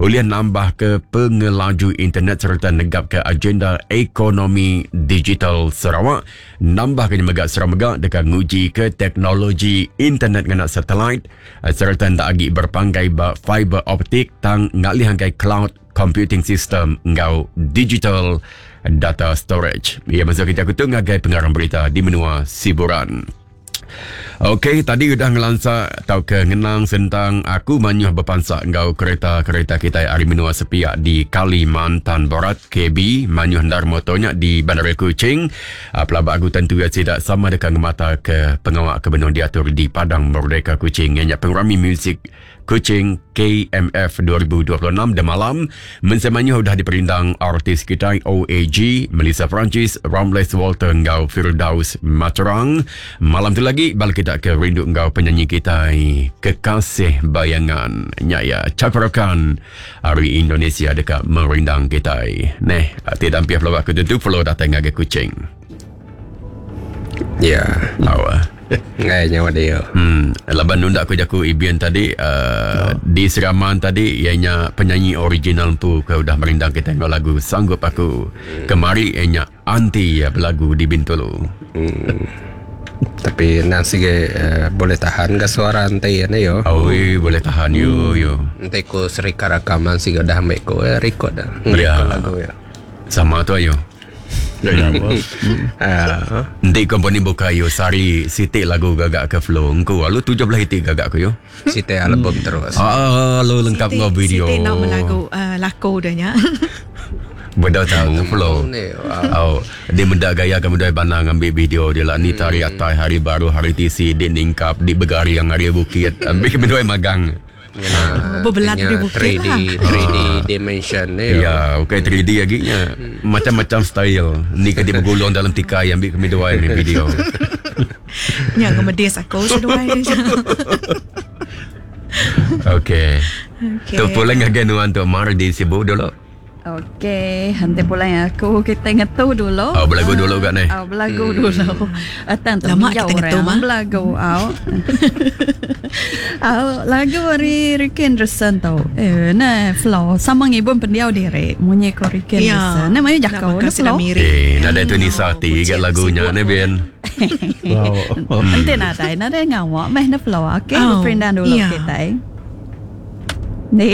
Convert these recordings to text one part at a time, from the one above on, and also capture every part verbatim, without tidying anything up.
Ulih nambah ke pengelaju internet serta negap ke agenda ekonomi digital Sarawak. Nambah ke mega Sarawak mega deka nguji ke teknologi internet ngena satelit serta ndak agi berpanggai ba fiber optik tang ngalih angkai cloud computing system ngau digital data storage. Ya, masa kita aku tu ngagai pengarang berita di menua Siburan. Okey, tadi udah ngelansa atau ke ngenang sentang aku manyuh berpansak ngau kereta-kereta kita hari menua sepiak di Kalimantan Barat K B manyuh ndar motornya di Bandar Kuching. Pelabak aku tentu ya tidak sama dekat ngemata ke pengawak ke benung diatur di Padang Merdeka Kuching. Ianya pengerami muzik Kuching K M F dua ribu dua puluh enam dan malam mensemanyuh udah diperindang artis kita O A G, Melissa Francis, Ramles Walter ngau Firdaus Materang. Malam tu lagi balik kita ke rindu ngau penyanyi kita Kekasih Bayangan. Nya ya Cakarakan hari Indonesia dekat merindang kita. Neh, tidak hampir pelawak aku tentu follow datang ngagai Kuching. Ya. Lawa. Ngai nyawa dia. Hmm, laban nundak aku jaku Ibian tadi uh, oh. Di Seraman tadi ianya penyanyi original pu ke udah merindang kita dengan lagu Sanggup Aku. Hmm. Kemari ianya anti ya berlagu di Bintulu. Hmm. Tapi nasi ge uh, boleh tahan ke suara anti ni yo. Oh, hmm. boleh tahan yo yo. Nanti ku serika rakaman sih udah ambek ku eh, record dah. Ngerekod ya. Lagu ya. Sama tu ayo. Nanti komponi buka yo sari sitik lagu gagak ke flow engku lalu tujuh belah itik gagak ku yo. Sitik album terus. Ah lu lengkap ngau video. Sitik nak melagu uh, laku dahnya. Benda tahu flow. Oh, dia mendak gaya kamu dah banang ambil video dia lah ni tari atai hari baru hari T C dia ningkap di begari yang hari bukit ambil benda magang. Ya, berbelat di bukit three D, lah. three D dimension ni. Ya, okey three D lagi nya. Macam-macam style. Ni kan dia bergulung dalam tikai ambil kami dua ni video. Nya ngemedis aku seduai. Okey. Okey. Tu pulang ngagai nuan tu mar di Sibu dulu. Okey, nanti pulang aku kita ngetu dulu. Oh, berlagu dulu kat ni. Oh, berlagu hmm. dulu. Atang tu lama kita ngetu mah. Berlagu au. Au lagu dari Ricky Anderson tu. Eh, nah flow sama ngibun pendiau diri. Munyi ko Ricky Anderson. Nah, mayu jakau ni flow. Eh, nada tu Nisa ti kat lagunya ni Ben. Wow. Nanti nadai, nadai ngawak meh na flow. Okey, oh, perindan dulu yeah. Kita. Ni.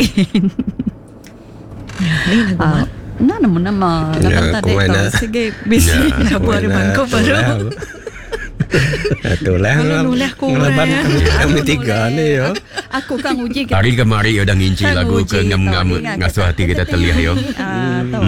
Ni lagu uh, nah, nama nama lagu tadi tu sige bisi lagu ada bangku baru. Itulah ngelaban kami tiga ni yo. Aku kan uji hari kemari udah nginci lagu ke ngam-ngam ngasuh hati kita telih yo. Ah tu.